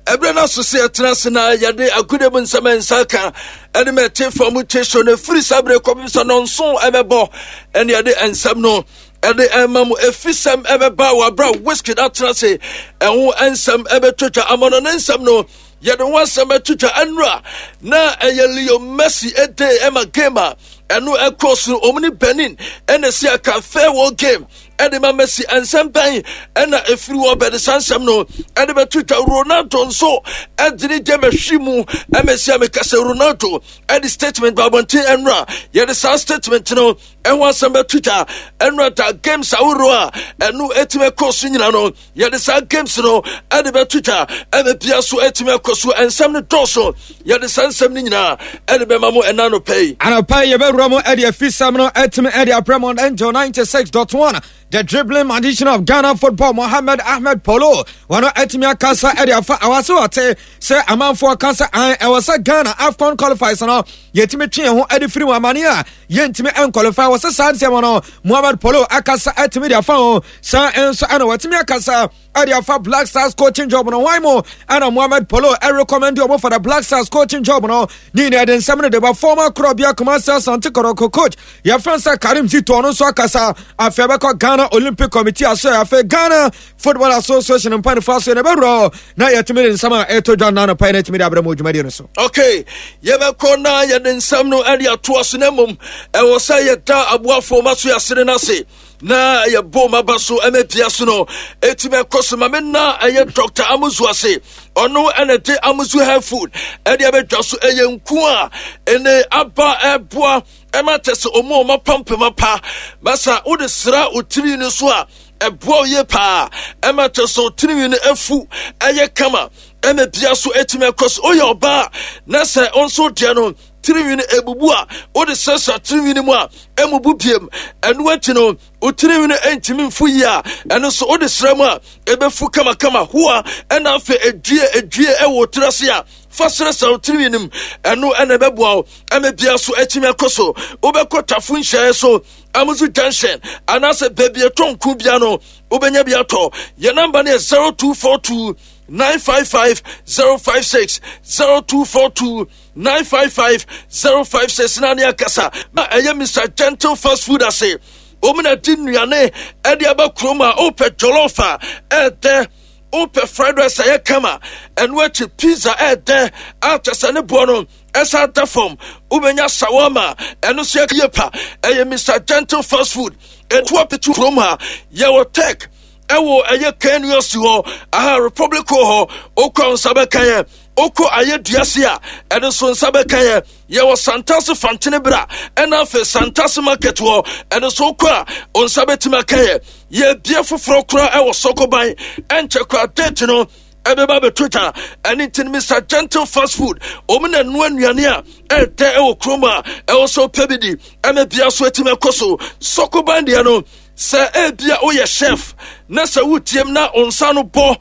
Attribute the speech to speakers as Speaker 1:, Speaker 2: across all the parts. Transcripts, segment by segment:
Speaker 1: Ɛberɛ no aso sɛ yɛtena ase na yɛde agodie mu nsɛm a nsa ka ɛne ma ɛte fa mu te so no ɛfiri saa berɛ kɔpem sɛ nɔnso ɛbɛbɔ ɛne yɛde nsɛm no ɛde ɛma mu ɛfisɛm ɛbɛba wɔ aberɛ a Wizkid atena ase ɛho nsɛm ɛbɛtwatwa amɔno ne nsɛm no yɛde ho asɛm ɛtwatwa ɛnora na ɛyɛ Leo Messi ɛde ɛma game a ɛno ɛkɔ so ɔmu ne Benin ɛna ɛsi aka farewell game ɛde ma Messi. Nsɛm bɛn ɛna ɛfiri wɔ bɛde saa nsɛm no ɛde bɛto dwa? Ronaldo nso ɛde ne gyama hwi mu ɛmɛsi a meka sɛ Ronaldo ɛde statement ba abɔnten ɛnora. Yɛde saa statement no ɛho asɛm bɛto dwa ɛnora. Da games ahoroɔ a ɛno ɛtumi ɛkɔ so nyina no, yɛde saa games no ɛde bɛto dwa ɛna bia so ɛtumi akɔ so. Nsɛm no dɔɔso, yɛde saa nsɛm no nyinaa ɛde bɛma mo ɛna anɔpɛ yi.
Speaker 2: Anɔpa yi yɛbɛwura mu ɛde afisɛm no ɛtumi ɛde abrɛ mo. Angel 96.1, the dribbling magician of Ghana football, Mohammed Ahmed Polo, wɔn ɛtumi akasa ɛde afa awase wɔte sɛ amanfoɔ ka sɛ an ɛwɔ sɛ Ghana AFCON qualifiers no yɛtumi twe yɛn ho ɛde firi wɔn amane a yɛntumi ɛnqualify wɔ sɛ saa nsɛm no. Mohammed Polo akasa ɛtumi de afa ho. Saa nso ɛna wɔtumi akasa ɛde afa Black Stars coaching job no. Hwan mu ɛna Mohammed Polo ɛrecommend ɔmo for the Black Stars coaching job no? Ne nyinaa ɛde nsɛm no de ba. Former Korɔbea Kumasi Asante Kɔtɔkɔ coach yɛfrɛ sɛ Karim Zito, ɔno nso akasa. Afei ɛbɛkɔ Ghana Olympic Committee aso, afei Ghana Football Association mpanimfoɔ aso na ɛbɛwura na yɛtumi de nsɛm a ɛtɔ dwa nna anɔpa yi na ɛtumi de abrɛ mu dwumadie no so.
Speaker 1: Okay, yɛbɛkɔ na yɛde nsɛm no ɛde atoa so, na mmom ɛwɔ sɛ yɛda aboafoɔ ma so yɛasere no ase na yɛbɔ ma ba so ɛmɛ bia so no ɛtumi ɛkɔ so. Ma me na ɛyɛ Dr. Amuzu ase, ɔno ɛna de Amuzu hair food ɛde ɛbɛdwa so. Ɛyɛ nku a ɛne aba ɛboa ɛma kyɛ sɛ ɔmu ɔma pampema pa basa wode sra wo tiri no so a, ɛboa wo yie paa ɛma kyɛ sɛ tirinwi no afu ɛyɛ kama ɛma bia so ɛtumi ɛkɔ so. Woyɛ ɔbaa na sɛ nso deɛ no tirinwi no ebubu a, wode srɛsrɛ tirinwi no mu a, ɛmubu biem. Ɛno akyi no, wo tirinwi no ɛntumi mfu yie a, ɛno nso wode srɛ mu a, ɛbɛfu kamakama hoa. Ɛna afei edwie edwie ɛwɔ tiri ase a, fa srɛsrɛ wo tirinwi no mu, ɛno ɛna ɛbɛboa wo ɛma bia so ɛtumi ɛkɔ so. Wobɛkɔ Tafo nhyɛɛ so, Amuzu Junction, anaasɛ baabi ɛtɔ nku bia no, wobɛnya bi atɔ. Yɛn namba no yɛ 0242 955 056, 0242 955 056 na ne akasa na ɛyɛ Mr Gentle Fast Food ase. Wɔn na di nnuane ɛde aba kurom a wopɛ jollof a ɛɛdɛ, wopɛ fried rice a ɛyɛ kama, ɛno akyi pizza ɛɛdɛ a kyɛ sɛ ne boɔ no ɛsan da fam, wobɛnya shawarma, ɛno nso yɛ pa. Ɛyɛ Mr Gentle Fast Food ɛtu apetu kurom ha. Yɛwɔ Tech ɛwɔ ɛyɛ KNUST hɔ aha, Republic hɔ, wokɔ nsa bɛka yɛ. Wokɔ ayɛ duase a, ɛno nso nsa bɛka yɛ. Yɛwɔ Santase Fantene bra, ɛna afei Santase Market hɔ, ɛno nso wokɔ a nsa bɛtumi aka yɛ. Yɛbie foforɔ koraa ɛwɔ Sɔkoban, ɛnkyɛ koraa date no ɛbɛba bɛto dwa. Ɛne nti no, Mr Gentle Fast Food, wɔn na ɛnoa nnuane a ɛdɛ ɛwɔ kurom a ɛwɔ sɛ wopɛ bi di ɛma bia so atumi akɔ so. Sɔkoban deɛ no, sɛ ebia woyɛ chef na sɛ wotiem na wo nsa no bɔ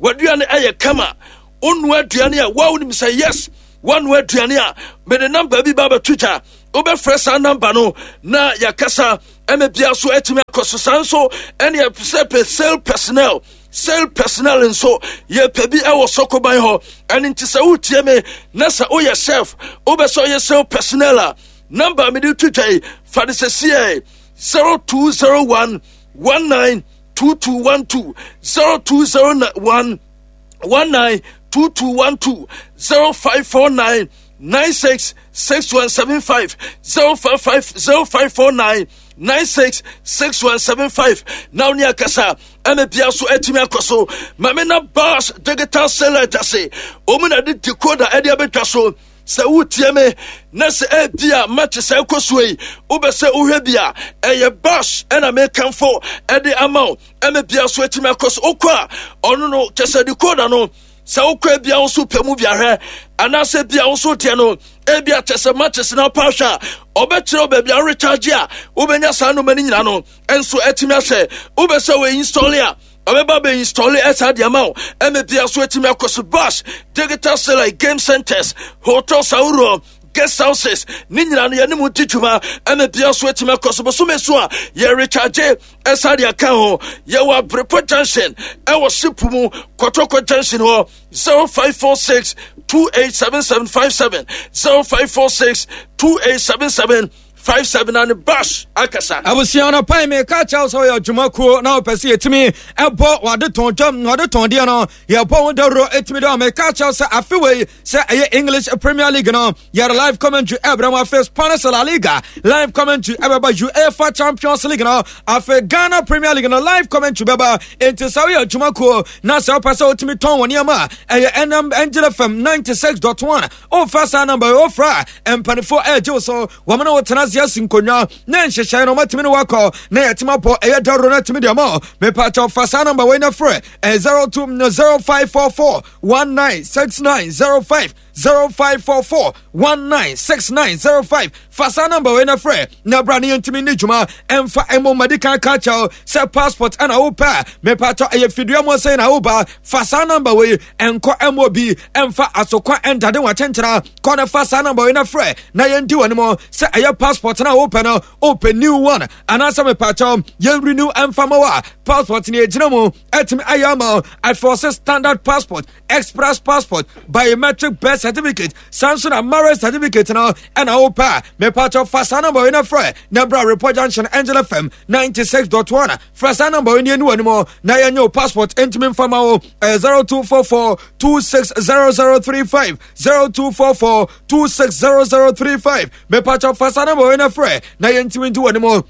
Speaker 1: w'aduane ɛyɛ kama, wonoa aduane a woa wonim sɛ yes, woanoa aduane a, mede namba bi ba bɛto dwa, wobɛfrɛ saa namba no na yɛakasa ɛma bia so atumi akɔ so. Saa nso ɛne sɛ pɛ sale personnel, sale personnel nso yɛpɛ bi ɛwɔ Sɔkoban hɔ. Ɛne nti sɛ wotie me na sɛ woyɛ chef, wobɛ sɛ ɔyɛ sale personnel a, namba mede to dwa yi, fa de sɛsiɛ 0201 19 2212, 0201 19 2212, 0549 96 6175, 055 0549 96 6175 na wo ne akasa ɛma bia so atumi akɔ so. Ma me na Bas Digital Satellite ase, ɔmu na de decoder ɛde abɛtwa so. Sɛ wotie me na sɛ ebi a match sɛ ɛkɔ so yi, wobɛ sɛ wohwɛ bi a, ɛyɛ Bas ɛna mekamfo ɛde ama wo ɛma bia so atumi akɔ so. Wokɔ a, ɔno no kyɛ sɛ decoder no, sɛ wokɔ ebia wo so pɛ mu bi ahwɛ, anaasɛ bia wo so deɛ no ebia kyɛ sɛ matches na wopɛ ahwɛ a, ɔbɛkyerɛ wo baabi a worecharge a wobɛnya saa nnoɔma no nyina no nso atumi ahwɛ. Wobɛ sɛ wɔ install a, ɔbɛba bɛ install ɛsaa deɛ ma wo ɛma bia so atumi akɔ so. Bash Digital Satellite, game centers, hotels ahoroɔ. Guest houses ne nyinaa no yɛne mu di dwuma ɛna bia so atumi akɔ so. Bosome so a yɛrecharge ɛsa de aka ho. Yɛwɔ Abrepɔ Junction ɛwɔ Sipu mu, Kɔtɔkɔ Junction hɔ. 0546 287757, 0546 2877 57 and bash akasa.
Speaker 2: Abusua no pan me ka kyɛw sɛ ɔyɛ adwuma kuo na ɔpɛ sɛ yɛtumi ɛbɔ wade tɔn dwam na ɔde tɔn deɛ no yɛbɔ ho dawuro ɛtumi dɛ me ka kyɛw sɛ afe wei sɛ ɛyɛ English Premier League no yɛde live commentary ɛbrɛ mu, afei Spanish La Liga live commentary ɛbɛba, UEFA Champions League no, afei Ghana Premier League no live commentary bɛba. Enti sɛ woyɛ adwuma kuo na sɛ wopɛ sɛ wotumi tɔn wɔ nneɛma a ɛyɛ ɛnam Angel FM 96.1, wofa saa namba yi wofra a mpanimfoɔ ɛregye wo so, wɔn ne wotena ase asi nkonnwa na nhyehyɛe no wɔatumi ne wakɔ na yɛtumi abɔ ɛyɛ dawuro no atumi deɛ ma mepaakyɛw fa saa namba wei na frɛ 02 0544 196905, 0544 196905. Fa saa namba wei na frɛ na bra ne yɛntumi ne dwuma ɛmfa ɛmmɔ madi kan ka kyɛw sɛ passport ɛna wopɛ a mepatɔ ɛyɛ fidua mu sɛn na woba. Fa saa namba wei, ɛnkɔ ɛmmɔ bi ɛmfa asokwa ɛndade wakyɛnkyɛna kɔ na fa saa namba wei na frɛ na yɛndi wɔ anim sɛ ɛyɛ passport na wopɛ no, wopɛ new one anaasɛ mepatɔ yɛn renew ɛmfa ma wo a passport ne ɛgyina mu ɛtumi ayɛ ama afei standard passport, express passport, biometric birth certificate, saa nso na marriage certificate no ɛna wopɛ a mepatɔ fa saa namba wei na frɛ na bra Report Junction, Angel FM 96.1. Frɛ saa namba wei ne ani w'anim na yɛnyɛ wo passport ntumi mfa ma wo. Ɛyɛ 0244 260035, 0244 260035. Mepatɔ fa saa namba wei na frɛ na yɛntumi nti w'anim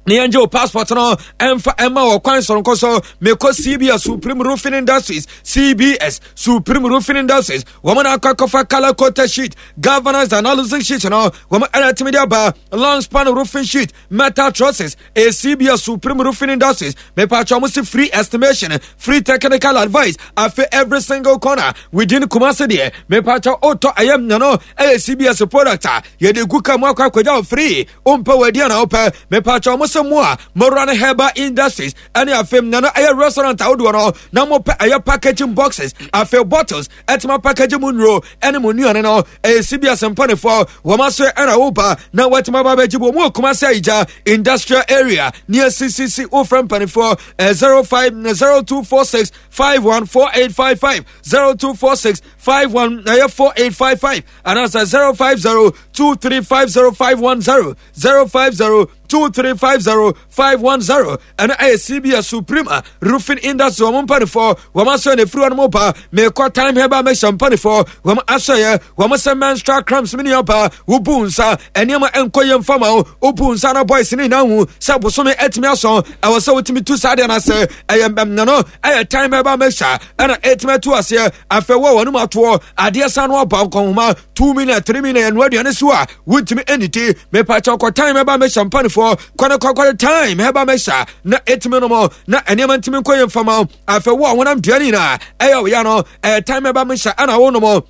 Speaker 2: na yɛngye wo passport no ɛmfa ɛma wɔ kwan soronko so. Mekɔ CBS Supreme Roofing Industries, CBS Supreme Roofing Industries, wɔn na akɔ akɔfa color coated sheet, galvanized analysis sheet no wɔn ɛna ɛtumi de aba, long span roofing sheet, metal trusses. Ɛyɛ CBS Supreme Roofing Industries. Mepatwa wɔn si free estimation, free technical advice, afei every single corner within Kumasi deɛ mepatwa ɔtɔ ɛyɛ nyano ɛyɛ CBS product a yɛde gu ka mu akɔ akɔgya wɔ free. Wompɛ wɔ adi ana wopɛ? Mepatwa ɔmo sɛ mo a mowura no Herbal Industries ɛne afei nana ɛyɛ restaurant ahodoɔ no na mopɛ ɛyɛ packaging boxes, afei bottles ɛtuma packaging mu nnuro ɛne mo nnuane no, ɛyɛ CBS mpanifoɔ wɔn aso ɛna woba na wɔatuma ba bɛgye bɔ mu wɔ Kumasi Ayigya Industrial Area near CCC. Wofrɛ mpanifoɔ 05 0246 514855, 0246 51 ɛyɛ 4855 anaasɛ 050 2350510, 050 2350510. Ɛno ɛyɛ CBS Supreme Roofing Industry wɔn mpanimfoɔ wɔn asɔ na efiri wɔn ba. Mekɔ Time Herbal Mixture mpanimfoɔ wɔn asɔ yɛ wɔn sɛ menstrual cramps, mi nua ba, wobu nsa nneɛma nkɔ yɛ nfa ma wo, wobu nsa na boys ne nyinaa hu sɛ bosome atumi asɔ, ɛwɔ sɛ wotumi tu saa deɛ no ase. Ɛyɛ mbɛmna ɛyɛ Time Herbal Mixture ɛna ɛtumi atu aseɛ. Afei wɔ wɔn mu atoɔ adeɛ san no aba nkɔnhoma 2 million, 3 million ɛnoa aduane so a wontumi nnidi. Mepakyɛ kɔ Time Herbal Mixture mpanifoɔ kɔne kɔkɔre Time Herbal Mixture na ɛtumi nom na nneɛma ntumi nkɔ yɛ mfama. Afei wo a honam dua no nyinaa ɛyɛ wo ya no, ɛyɛ Time Herbal Mixture ɛna wo nom.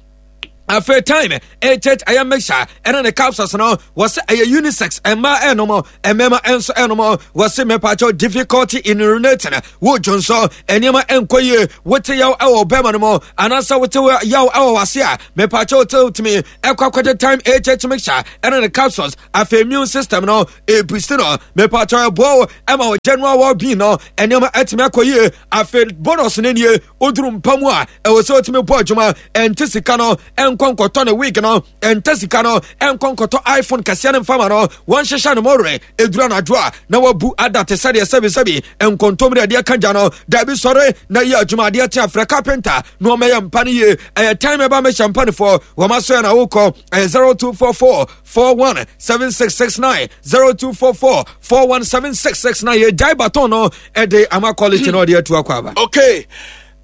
Speaker 2: Afei Time HH ɛyɛ mixture ɛne ne capsules no wɔsɛ ɛyɛ unisex, mmaa ɛnom, mmarima nso ɛnom. Wɔsɛ mɛpakyɛw difficulty in urinating, wo dwonsɔ nneɛma ɛnkɔ yie, wote yaw ɛwɔ bɛrima no mu anaasɛ wote yaw ɛwɔ wase a, mɛpakyɛw tewtumi ɛkɔ akɔgye Time HH mixture ɛne ne capsules. Afei immune system no ebusi no, mɛpakyɛw ɛboa wo ɛma wo general well being no nneɛma ɛtumi akɔ yie. Afei bonus no nie, woduru mpa mu a ɛwɔ sɛ wotumi bɔ adwuma. Ɛnte sika no ɛnkɔ nkɔtɔ ne wig no, ɛnte sika no ɛnkɔ nkɔtɔ iPhone kɛseɛ no mfama no, wɔnhyehyɛ no mɔwerɛ. Ɛduru anadwo a na wabu ada te sɛdeɛ sɛbisɛbi nkontomire adeɛ ka gya no. Dabi, sɔre na yɛ adwuma. Adeɛ te afrɛ carpenter na ɔmɛyɛ mpa no yie. Ɛyɛ Time ɛba mɛhyɛ mpanifoɔ wɔn aso yɛ na wokɔ ɛyɛ 0244 41 7669, 0244 417669. Yɛgyae baton no ɛde ama quality na ɔde atu akɔ aba.
Speaker 1: Okay,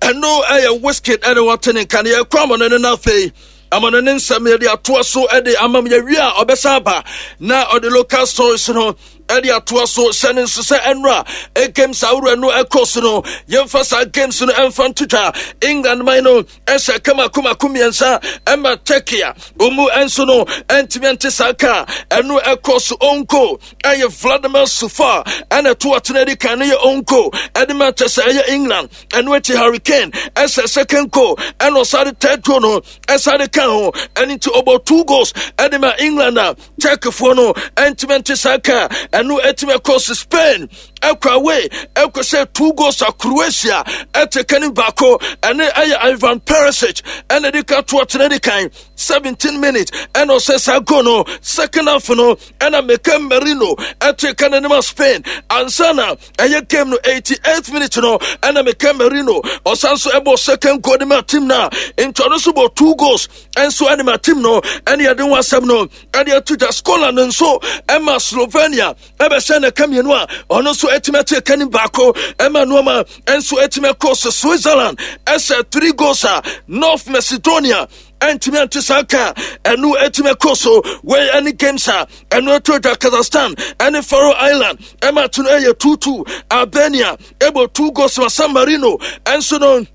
Speaker 1: ɛno ɛyɛ Wizkid ɛne wɔte ne nka no. Yɛkɔ amano no no afei amano ne nsɛm yɛde atoa so ɛde ama m. Yɛwie a ɔbɛsa aba na ɔde local stories no. Ɛde atoa so hyɛ no nso sɛ ɛnora games ahoroɔ no ɛkɔ so no, yɛmfa saa games no ɛmfa nto dwa. England man no ɛhyɛ kama komako 3 ɛma Turkey a ɔmu nso no ɛntumi ɛnte saa ka. Ɛno ɛkɔ so onko ɛyɛ Vladimir Sufa ɛna ɛto atena adi kan no yɛ onko ɛde ma kyɛ sɛ ɛyɛ England. Ɛno akyi Harry Kane ɛhyɛ second goal ɛna ɔsare third goal no ɛsare ka ho, ɛno nti ɔbɔ 2 goals ɛde ma England a Turkeyfoɔ no ɛntumi nte saa ka. Ɛno ɛtumi ɛkɔ so Spain ɛkɔ away ɛkɔ sɛ 2 goals a Croatia ɛte ka ne baako, ɛne ɛyɛ Ivan Perisic ɛna de ka to ɔtena di kan 17 minutes ɛna ɔsɛ saa goal no. Second half no ɛna Mikel Merino ɛte ka n'anim a Spain ansa na ɛyɛ game no 88th minute no ɛna Mikel Merino ɔsan so ɛbɔ second goal de ma team no a nti ɔno nso bɔ 2 goals ɛnso ɛne ma team no. Ɛne yɛde ho asɛm no ɛde ato dwa. Scotland nso ɛma Slovenia ɛbɛhyɛ ne ka 2 a ɔno nso ɛtumi ate ka ne baako ɛma nneɛma ɛnso ɛtumi ɛkɔ so. Switzerland ɛhyɛ 3 goals a North Macedonia ɛntumi ante saa ka. Ɛno ɛtumi ɛkɔ so. Wei ɛne games a ɛno ɛto dwa. Kazakhstan ɛne Faroe Island ɛma to no ɛyɛ 2-2. Albania ɛbɔ 2 goals ma San Marino ɛnso no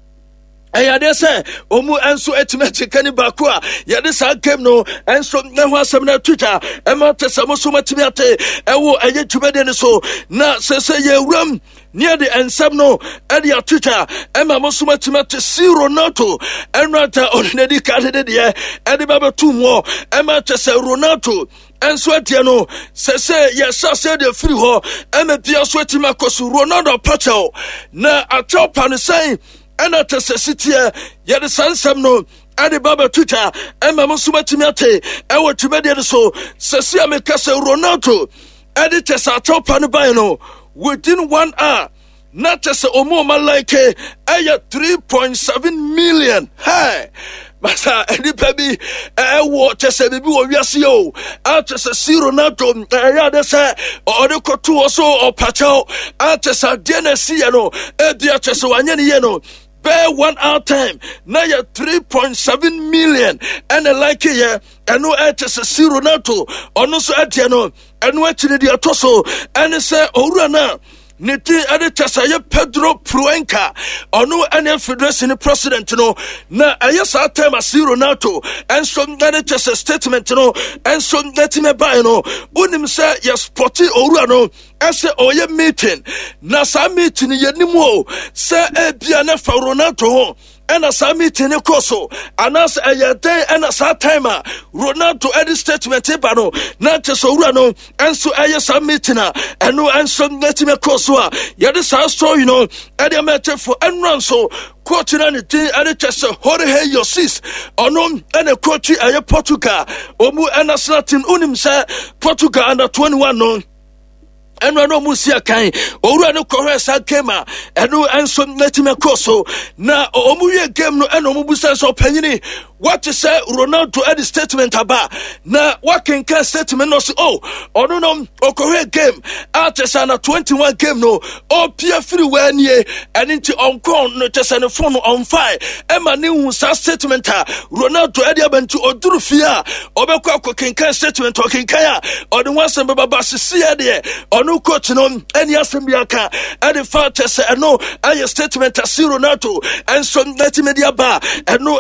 Speaker 1: ɛyɛ adeɛ sɛ ɔmu nso atumi akyeka ne baako a yɛde saa game no nso ɛho asɛm no ato dwa ɛma te sɛ mo so matumi ate ɛwɔ ɛyɛ dwumadie no so. Na sɛ sɛ yɛwuram ne yɛde nsɛm no ɛde ato dwa ɛma mo so matumi ate si Ronaldo ɛno ata ɔne n'adi ka de deɛ ɛde bɛbɛto mu ɛma kyɛ sɛ Ronaldo ɛnso adeɛ no sɛ sɛ yɛhyɛ aseɛ deɛ firi hɔ ɛma bia so atumi akɔ so. Ronaldo apakyɛw na akyɛw pa no sɛn ɛna kyɛ sɛ siteɛ yɛde saa nsɛm no ɛde ba bɛto dwa ɛma mo nso matumi ate ɛwɔ dwumadie no so. Sɛ si a meka sɛ Ronaldo ɛde kyɛ sɛ akyɛw pa no bae no within 1 hour na kyɛ sɛ ɔmu ɔma like ɛyɛ 3.7 million. Hey! Masa nipa bi ɛwɔ kyɛ sɛ biribi wɔ wiase o akyɛ sɛ si Ronaldo ɛyɛ ade sɛ ɔde kɔto hɔ so ɔpakyɛw akyɛ sɛ adeɛ na ɛsi yɛ no ebi akyɛ sɛ wanyɛ ne yie no bɛɛ 1 hour time na yɛ 3.7 million ɛna like yɛ. Ɛno ɛkyɛ sɛ si Ronaldo ɔno nso ɛdeɛ no. Ɛno akyi no deɛ ɛtɔ so ɛne sɛ owura no a ne din ɛde kyɛ sɛ ɛyɛ Pedro Proenca, ɔno ɛne federation president no, na ɛyɛ saa time a si Ronaldo ɛnso ɛde kyɛ sɛ statement no ɛnso ɛtumi ɛbaeɛ no. Wonim sɛ yɛ spɔte owura no ɛsɛ ɔyɛ meeting, na saa meeting yɛnim o sɛ ebia ne fa Ronaldo ho ɛna saa meeting no kɔ so anaasɛ ɛyɛ dɛn ɛna saa time a Ronaldo ɛde statement ba no na kyɛ sɛ owura no ɛnso ɛyɛ saa meeting a ɛno ɛnso ɛtumi kɔ so a yɛde saa story no ɛde ama ɛkyɛfo. Ɛnora nso coach no ne din ɛde kyɛ sɛ Jorge Jesus, ɔno ɛna coach ɛyɛ Portugal ɔmu national team. Wonim sɛ Portugal under 21 no ɛno ɛno ɔmo si akan owura no kɔhwɛ saa game a ɛno nso n'atumi akɔ so na ɔmo wie game no ɛna ɔmo busa sɛ ɔpanyini wate sɛ Ronaldo ɛde statement aba na wakenkan statement no ɔsi oh ɔno no ɔkɔhwɛ game a kyɛ sɛ na 21 game no ɔpia firi wɔ anie ɛne nti ɔnkɔn no kyɛ sɛ ne phone no ɔnfae ɛma ne hu saa statement a Ronaldo ɛde aba nti ɔduru fie a ɔbɛkɔ akɔkenkan statement ɔkenkan a ɔde ho asɛm bɛba ba sisiɛ deɛ ɔno coach no ɛne asɛm bi aka ɛde fa kyɛ sɛ ɛno ɛyɛ statement a si Ronaldo ɛnso ɛtumi de aba ɛno.